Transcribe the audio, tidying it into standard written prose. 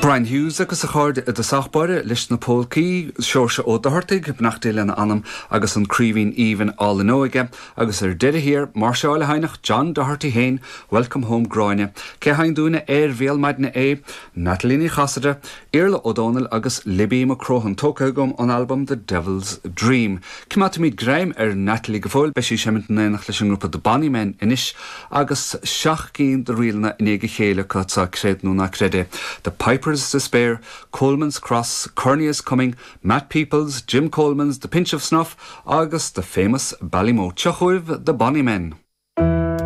Brian Hughes agus a chairde i dtosach báire leis na pólcaí, Seoirse Ó Dochartaigh, beannacht Dé lena anam, agus an Craoibhín Aoibhinn Álainn Óige, agus ar deireadh thiar, máirseáil a sheinnfeadh John Doherty féin, Welcome Home Gráinne. Cé a sheinn dúinne ar bhéal maidne é? Natalie Ní Chasaide, Iarla Ó Dónaill agus Libby McCrohan, tógtha agam ón albam The Devil's Dream. Coimeádfaimid greim ar Natalie go fóill, beidh sí ag seimint in éineacht leis an ngrúpa The Bonny Men anois agus seacht gcinn de ríleanna i ndiaidh a chéile acu anseo, creid nó ná creid é, The Piper's Despair, Coleman's Cross, Kearney is Coming, Matt Peoples, Jim Coleman's, The Pinch of Snuff agus The Famous Ballymote. Seo chugaibh The Bonny Men.